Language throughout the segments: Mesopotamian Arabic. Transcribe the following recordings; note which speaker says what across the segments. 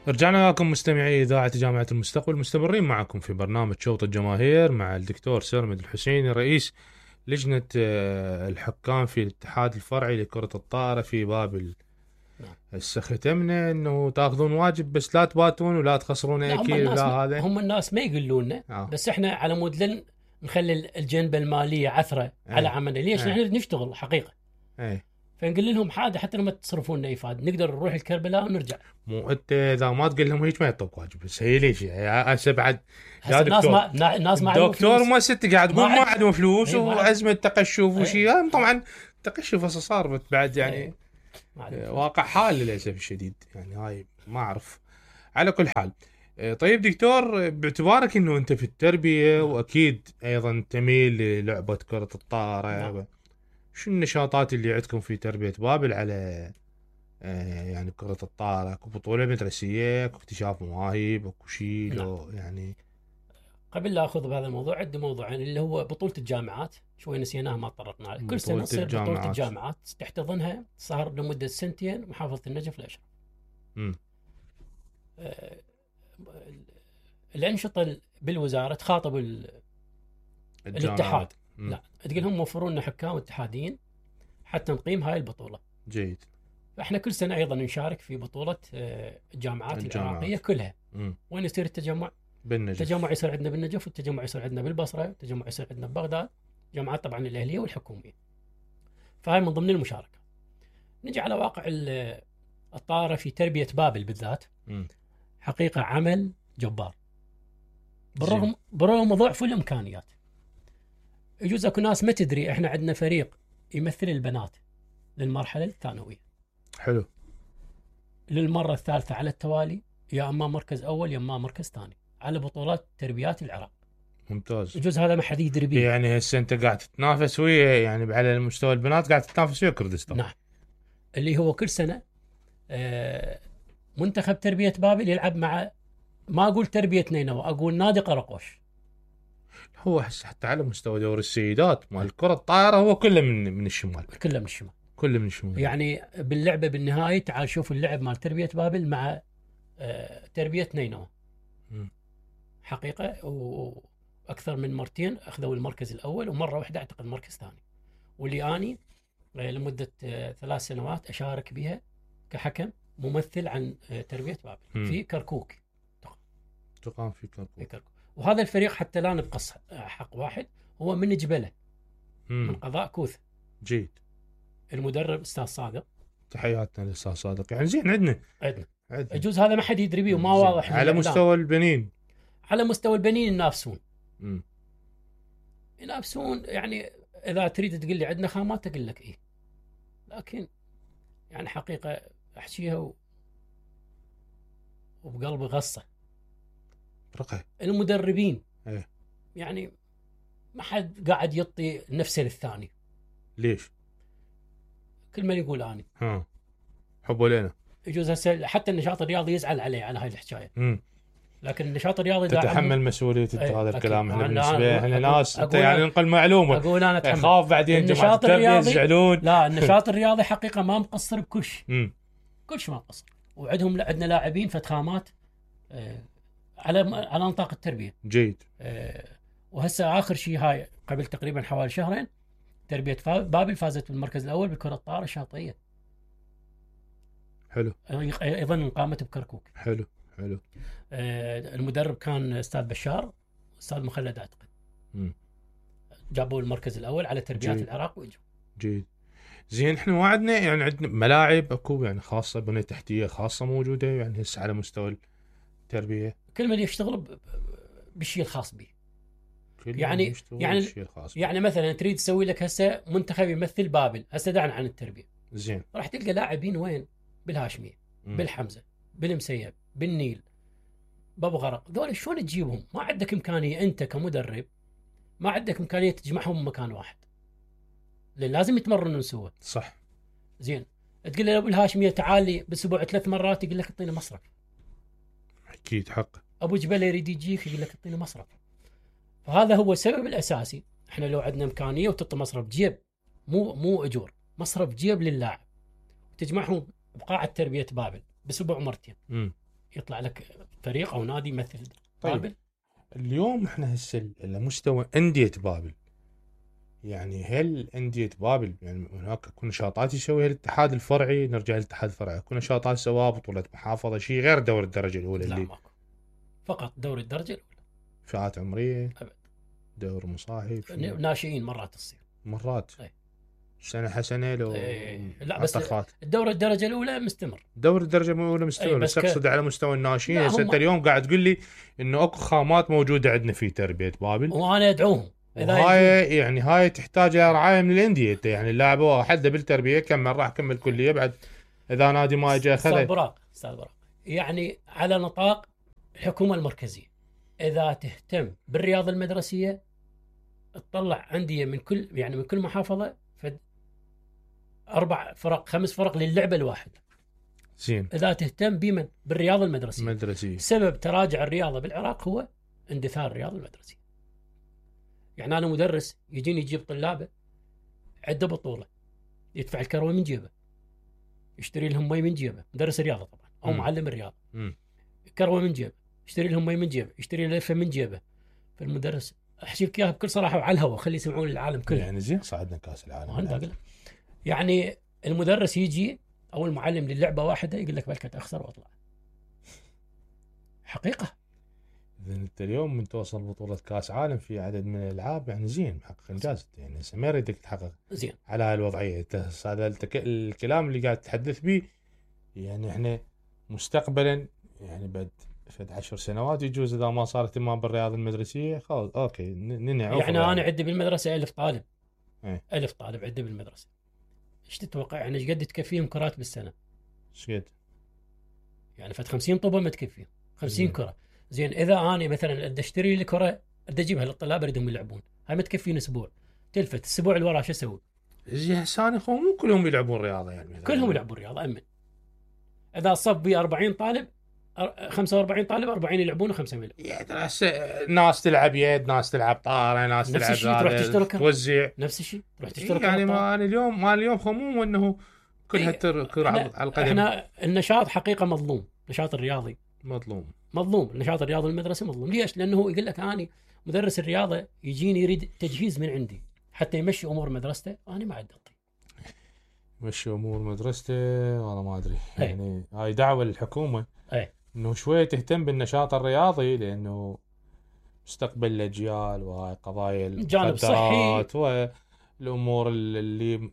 Speaker 1: رجعنا لكم مستمعي إذاعة جامعة المستقبل، مستمرين معكم في برنامج شوط الجماهير مع الدكتور سرمد الحسيني رئيس لجنة الحكام في الاتحاد الفرعي لكرة الطائرة في بابل. هسه ختمنا انه تاخذون واجب بس لا تباتون ولا تخسرون اكيد. لا هذا
Speaker 2: هم الناس ما يقولون لنا بس احنا على مود نخلي الجنبة المالية عثرة على عملنا. ليش؟ نحن نشتغل حقيقة. فنقول لهم حاجه حتى لما تصرفون لنا افاده نقدر نروح الكربلاء ونرجع.
Speaker 1: مو انت اذا ما تقول لهم هيك ما يعطوك واجب. بس هي ليش هسه بعد
Speaker 2: يا دكتور الناس ما
Speaker 1: دكتور ما ست قاعد تقول ما عندهم فلوس وازمه تقشف وشيء. طبعا تقشف هسه صار بعد يعني واقع حال للاسف الشديد. يعني هاي ما اعرف. على كل حال طيب دكتور، باعتبارك انه انت في التربيه واكيد ايضا تميل للعبه كره الطائره، شو النشاطات اللي عندكم في تربية بابل على يعني كرة الطائرة؟ اكو بطولة مدرسية، اكو اكتشاف مواهب، اكو شيء لو يعني؟
Speaker 2: قبل لا اخذ بهذا الموضوع عندي موضوعين اللي هو بطولة الجامعات، شوي نسيناها ما طرقنا عليه. كل سنة تصير بطولة الجامعات تحتضنها صار لمدة 2 سنين محافظة النجف الأشرف. الأنشطة بالوزارة تخاطب الاتحاد. لا تقول هم وفروا لنا حكام اتحاديين حتى نقيم هاي البطولة.
Speaker 1: جيد.
Speaker 2: فاحنا كل سنة أيضا نشارك في بطولة الجامعات العراقية كلها. وين يصير التجمع؟
Speaker 1: بالنجف.
Speaker 2: التجمع يصير عندنا بالنجف، والتجمع يصير عندنا بالبصرة، والتجمع يصير عندنا ببغداد، جامعات طبعا الأهلية والحكومية. فهاي من ضمن المشاركة. نجي على واقع الطائرة في تربية بابل بالذات. حقيقة عمل جبار بالرغم ضعف الإمكانيات. يجوز اكو ناس ما تدري احنا عندنا فريق يمثل البنات للمرحله الثانويه.
Speaker 1: حلو.
Speaker 2: للمره الثالثه على التوالي، يا اما مركز اول يا اما مركز ثاني على بطولات تربيات العراق.
Speaker 1: ممتاز.
Speaker 2: يجوز هذا ما حد يدري به.
Speaker 1: يعني هسه انت قاعد تتنافس ويا يعني على المستوى البنات قاعد تتنافس ويا كردستان.
Speaker 2: نعم. اللي هو كل سنه منتخب تربيه بابل يلعب مع، ما اقول تربيه نينوى، اقول نادي قرقوش.
Speaker 1: هو حتى على مستوى دور السيدات مال كرة الطائرة هو كله من الشمال.
Speaker 2: كله من الشمال.
Speaker 1: كله من الشمال.
Speaker 2: يعني باللعبة بالنهاية تعال شوف اللعب مال تربية بابل مع تربية نينوى. حقيقة وأكثر من مرتين أخذوا المركز الأول، ومرة واحدة أعتقد مركز ثاني. واللي أني لمدة 3 سنوات أشارك بها كحكم ممثل عن تربية بابل في كركوك.
Speaker 1: تقام في كركوك.
Speaker 2: وهذا الفريق حتى لا نبقص حق واحد هو من جبله من قضاء كوث.
Speaker 1: جيد.
Speaker 2: المدرب استاذ صادق.
Speaker 1: تحياتنا للاستاذ صادق. يعني زين عندنا
Speaker 2: يجوز هذا ما حد يدري به وما واضح
Speaker 1: على مستوى البنين.
Speaker 2: على مستوى البنين ينافسون يعني اذا تريد تقول لي عندنا خامات اقول لك ايه، لكن يعني حقيقه احكيها وبقلبي غصه. المدربين يعني ما حد قاعد يعطي نفسه للثاني.
Speaker 1: ليش؟
Speaker 2: كل من يقول اني
Speaker 1: حبوا لنا.
Speaker 2: يجوز هسه حتى النشاط الرياضي يزعل عليه على هاي الحكايه. لكن النشاط الرياضي
Speaker 1: تتحمل مسؤوليه هذا الكلام. احنا بالنسبه احنا ناس يعني ننقل معلومه.
Speaker 2: اقول انا اتحمل.
Speaker 1: اخاف بعدين جماعه التربيه يزعلون.
Speaker 2: لا النشاط الرياضي حقيقه ما مقصر بكل شيء. كل شيء ما مقصر. عندنا لاعبين فتخامات على نطاق التربيه.
Speaker 1: جيد.
Speaker 2: وهسه اخر شيء هاي قبل تقريبا حوالي شهرين تربيه بابل فازت بالمركز الاول بكره الطائره الشاطئيه.
Speaker 1: حلو.
Speaker 2: ايضا قامت بكركوك.
Speaker 1: حلو.
Speaker 2: المدرب كان استاذ بشار، استاذ مخلد اعتقد. جابوا المركز الاول على تربيات العراق واجوا.
Speaker 1: جيد. زين احنا ما عندنا يعني عندنا ملاعب اكو يعني خاصه، بنيه تحتيه خاصه موجوده يعني هسه على مستوى التربيه.
Speaker 2: كل من يشتغل بالشيء الخاص به. يعني مثلا تريد تسوي لك هسه منتخب يمثل بابل، هسه دعنا عن التربيه.
Speaker 1: زين.
Speaker 2: راح تلقى لاعبين وين؟ بالهاشميه، بالحمزه، بالمسيب، بالنيل، بابو غرق. ذول شلون تجيبهم؟ ما عندك امكانيه انت كمدرب، ما عندك امكانيه تجمعهم بمكان واحد، لان لازم يتمرنون سوا.
Speaker 1: صح.
Speaker 2: زين تقول له ابو الهاشميه تعال لي بالاسبوع 3 مرات، يقول لك اعطينا مصرف.
Speaker 1: اكيد حق.
Speaker 2: ابو جبل يريد يجيك يقول لك اعطينا مصرف. فهذا هو السبب الاساسي. احنا لو عندنا امكانيه وتعطي مصرف جيب، مو اجور، مصرف جيب للاعب، تجمعهم بقاعه تربيه بابل باسبوع مرتين. يطلع لك فريق او نادي يمثل
Speaker 1: طيب.
Speaker 2: بابل.
Speaker 1: اليوم احنا هسه على مستوى انديه بابل، يعني هل انديه بابل يعني هناك اكو نشاطات يسويها الاتحاد الفرعي؟ نرجع للاتحاد الفرعي، اكو نشاطات سواها بطوله محافظه شيء غير دور الدرجه الاولى
Speaker 2: لا
Speaker 1: اللي
Speaker 2: ماكو، فقط دوري الدرجه الاولى.
Speaker 1: فئات عمريه
Speaker 2: أبد.
Speaker 1: دور مصاحب
Speaker 2: ناشئين مرات تصير
Speaker 1: مرات
Speaker 2: أي.
Speaker 1: سنه حسنه لو
Speaker 2: لا بس
Speaker 1: عطخات.
Speaker 2: الدوري الدرجه الاولى مستمر،
Speaker 1: دور الدرجه الاولى مستمر، بس اقصد على مستوى الناشئين. هسه انت اليوم قاعد تقول لي انه اكو خامات موجوده عندنا في تربيه بابل،
Speaker 2: وانا ادعوهم.
Speaker 1: هاي يعني هاي تحتاج الى رعايه من الانديه. انت يعني اللاعب هو حده بالتربيه كمل راح كمل كليه، بعد اذا نادي ما اجى اخذه.
Speaker 2: استاذ براق يعني على نطاق الحكومه المركزيه، اذا تهتم بالرياضه المدرسيه تطلع انديه من كل محافظه 4 فرق 5 فرق للعبه الواحده.
Speaker 1: زين.
Speaker 2: اذا تهتم بالرياضه
Speaker 1: المدرسيه.
Speaker 2: سبب تراجع الرياضه بالعراق هو اندثار الرياضه المدرسيه. يعني انا مدرس يجيني يجيب طلابه عنده بطوله، يدفع الكروي من جيبه، يشتري لهم مي من جيبه، مدرس رياضه طبعا او معلم الرياضه، كروي من جيبه، يشتري لهم مي من جيبه، يشتري لفه من جيبه. فالمدرس احكي لك اياها بكل صراحه وعلى الهواء، خلي يسمعون العالم كله.
Speaker 1: يعني زين صعدنا كاس العالم.
Speaker 2: يعني المدرس يجي او المعلم للعبه واحده يقول لك بلكت اخسر واطلع. حقيقه.
Speaker 1: اذا انت اليوم من توصل بطوله كاس عالم في عدد من الالعاب يعني زين، محقق انجاز. يعني ما اريدك تحقق
Speaker 2: زين
Speaker 1: على هالوضعيه. هذا الكلام اللي قاعد تتحدث به، يعني احنا مستقبلا يعني بعد 10 سنوات يجوز اذا ما صار اهتمام بالرياضه المدرسيه خلاص اوكي ننعم.
Speaker 2: يعني انا عندي بالمدرسه 1000 طالب.
Speaker 1: ايه؟
Speaker 2: 1000 طالب عندي بالمدرسه. ايش تتوقع يعني ايش قد تكفيهم كرات بالسنه؟
Speaker 1: ايش قد؟
Speaker 2: يعني فت 50 طوبه ما تكفيهم 50 كره. زين اذا انا مثلا بدي اشتري لي كره بدي اجيبها للطلاب اريدهم يلعبون، هاي ما تكفيني اسبوع، تلفت الاسبوع اللي وراه شو اسوي؟
Speaker 1: زين هسه انا مو كلهم يلعبون رياضه يعني
Speaker 2: كلهم يلعبون رياضه. امن اذا صف بي 40 طالب 45 طالب 40 يلعبون و5 يلعبون.
Speaker 1: يعني ناس تلعب يد، ناس تلعب طاره، ناس
Speaker 2: نفس الشيء تروح تشتري
Speaker 1: توزع
Speaker 2: نفس الشيء تروح تشتري
Speaker 1: يعني ما اليوم خموم انه كلها كره على القدم.
Speaker 2: احنا النشاط حقيقه مظلوم، النشاط الرياضي مظلوم، النشاط الرياضي المدرسي مظلوم. ليش؟ لانه يقول لك اني مدرس الرياضه يجيني يريد تجهيز من عندي حتى يمشي امور مدرسته، انا ما عندي اعطي
Speaker 1: مشي امور مدرسته. والله ما ادري يعني هاي دعوه للحكومه انه شويه تهتم بالنشاط الرياضي، لانه مستقبل الاجيال وهاي قضايا
Speaker 2: المخدرات
Speaker 1: والامور اللي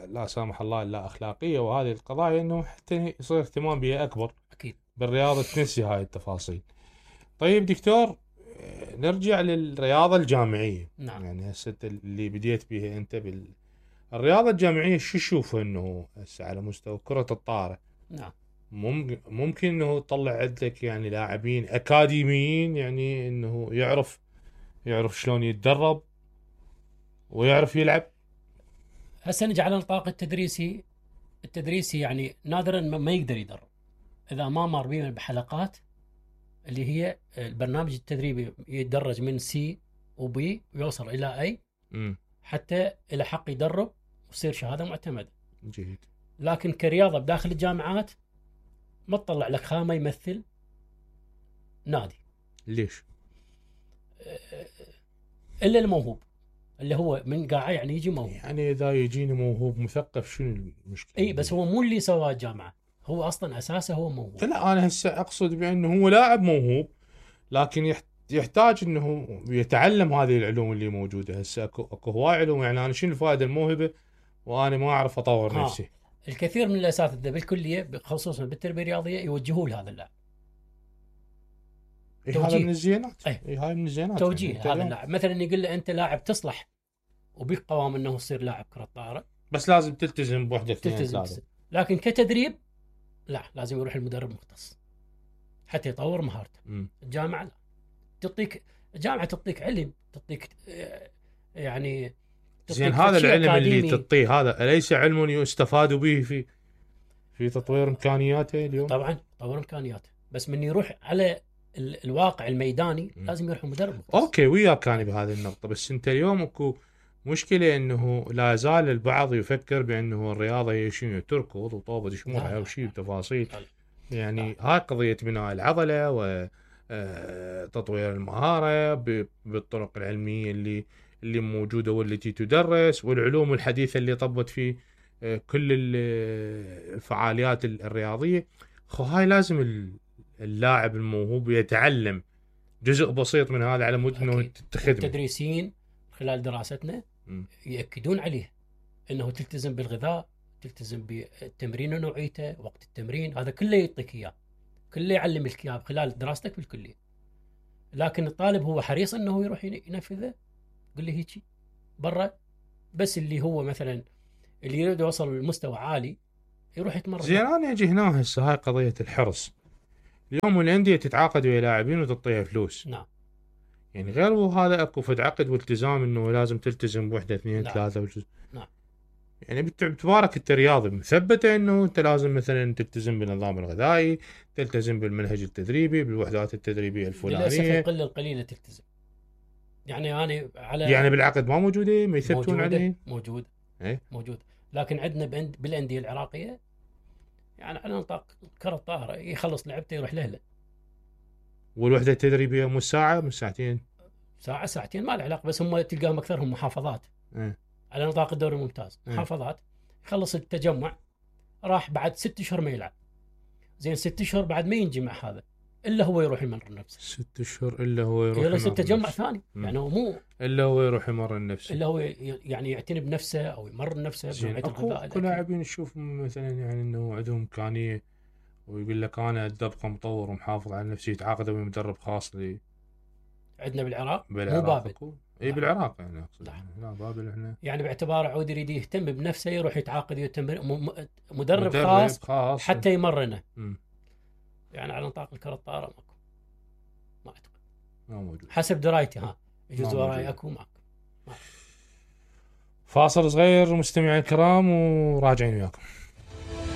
Speaker 1: لا سامح الله لا اخلاقيه، وهذه القضايا انه حتى يصير اهتمام بها اكبر
Speaker 2: اكيد
Speaker 1: بالرياضه، تنسي هاي التفاصيل. طيب دكتور نرجع للرياضه الجامعيه.
Speaker 2: نعم.
Speaker 1: يعني هسه اللي بديت بها انت الرياضه الجامعيه، شو تشوف انه هسه على مستوى كره الطائره؟
Speaker 2: نعم.
Speaker 1: ممكن انه تطلع عندك يعني لاعبين اكاديميين، يعني انه يعرف شلون يتدرب ويعرف يلعب.
Speaker 2: هسه نجي على النطاق التدريسي يعني نادرا ما يقدر يدرب اذا ما مر بيه بحلقات اللي هي البرنامج التدريبي، يتدرج من سي وبي ويوصل الى اي حتى الى حق يدرب ويصير شهاده معتمده.
Speaker 1: جيد.
Speaker 2: لكن كرياضه بداخل الجامعات ما تطلع لك خامه يمثل نادي.
Speaker 1: ليش؟
Speaker 2: الا الموهوب اللي هو من قاعه، يعني يجي موهوب.
Speaker 1: يعني اذا يجيني موهوب مثقف شنو المشكله؟
Speaker 2: اي بس هو مو اللي سواه الجامعه، هو اصلا اساسه هو موهوب.
Speaker 1: لا انا هسه اقصد بانه هو لاعب موهوب، لكن يحتاج انه يتعلم هذه العلوم اللي موجوده. هسه اكو هواي علوم، يعني انا شنو الفائده الموهبه وانا ما اعرف اطور نفسي؟
Speaker 2: الكثير من الاساتذه بالكليه خصوصا بالتربيه الرياضيه يوجهوا لهذا اللاعب.
Speaker 1: هذا من الزينات. هاي من الزينات
Speaker 2: توجيه يعني هذا اللاعب، مثلا يقول له انت لاعب تصلح وبيك قوام انه تصير لاعب كره طائره،
Speaker 1: بس لازم تلتزم بوحده اثنين ثلاثه.
Speaker 2: لكن كتدريب لا، لازم يروح المدرب مختص حتى يطور مهارته. الجامعه لا، الجامعه تعطيك علم، تعطيك يعني
Speaker 1: زين. هذا العلم اللي تعطيه هذا أليس علم يستفاد به في تطوير امكانياته اليوم؟
Speaker 2: طبعا تطوير امكانياته، بس من يروح على الواقع الميداني لازم يروح مدرب مختص.
Speaker 1: اوكي وياك انا بهذه النقطه، بس انت اليوم اكو مشكله انه لا زال البعض يفكر بانه الرياضه هي شنو، تركض وطوبه شموع او شيء بتفاصيل. يعني هاي قضية بناء العضلة وتطوير المهارة بالطرق العلمية اللي موجودة والتي تدرس، والعلوم الحديثة اللي طبت في كل الفعاليات الرياضية. هاي لازم اللاعب الموهوب يتعلم جزء بسيط من هذا على مود انه تخدمه.
Speaker 2: التدريسيين خلال دراستنا يأكدون عليه انه تلتزم بالغذاء، تلتزم بالتمرين ونوعيته، وقت التمرين، هذا كله يعطيك اياه، كله يعلمك اياه خلال دراستك بالكليه. لكن الطالب هو حريص انه يروح ينفذه، قل لي هيك برا، بس اللي هو مثلا اللي يريد يوصل لمستوى عالي يروح يتمرن.
Speaker 1: زين انا اجي هنا هسه، هاي قضيه الحرص. اليوم الانديه تتعاقد ويا لاعبين وتعطيها فلوس.
Speaker 2: نعم.
Speaker 1: يعني غير هذا اكو فد عقد والتزام انه لازم تلتزم بوحده اثنين ثلاثه
Speaker 2: نعم.
Speaker 1: يعني باعتبارك انت رياضي مثبته انه انت لازم مثلا تلتزم بالنظام الغذائي، تلتزم بالمنهج التدريبي، بالوحدات التدريبيه الفلانيه.
Speaker 2: للاسف القله القليله تلتزم. يعني انا
Speaker 1: يعني بالعقد ما موجوده، ما يثبتون عليه.
Speaker 2: موجود
Speaker 1: ايه؟
Speaker 2: موجود. لكن عندنا بالانديه العراقيه يعني على نطاق كره الطائره يخلص لعبته يروح له.
Speaker 1: والوحده التدريبيه مو ساعه، مو ساعتين،
Speaker 2: ساعه ساعتين ما له علاقه، بس هم تلقاهم اكثرهم محافظات. على نطاق الدوري الممتاز محافظات. يخلص التجمع راح بعد 6 اشهر ما يلعب. زين 6 اشهر بعد ما ينجي مع هذا الا هو يروح يمرن نفسه.
Speaker 1: 6 اشهر الا هو يروح يمرن
Speaker 2: نفسه. تجمع ثاني يعني هو مو
Speaker 1: الا هو يروح يمرن نفسه،
Speaker 2: الا هو يعني يعتني بنفسه او يمرن نفسه بنوعيه الغذاء.
Speaker 1: اكو لاعبين نشوف مثلا يعني انه عندهم امكانيه ويقول لك انا ابقى مطور ومحافظ على نفسي، يتعاقد ويا مدرب خاص لي.
Speaker 2: عندنا بالعراق مو بابل.
Speaker 1: اي بالعراق يعني اقصد. لا بابل احنا
Speaker 2: يعني باعتبار عود يريد يهتم بنفسه يروح يتعاقد ويتم مدرب خاص حتى يمرنه. يعني على نطاق الكره الطائره ماكو، ما اعتقد
Speaker 1: ما موجود
Speaker 2: حسب درايتي. يجوز وراي اكو ماكو.
Speaker 1: فاصل صغير مستمعي الكرام وراجعين وياكم.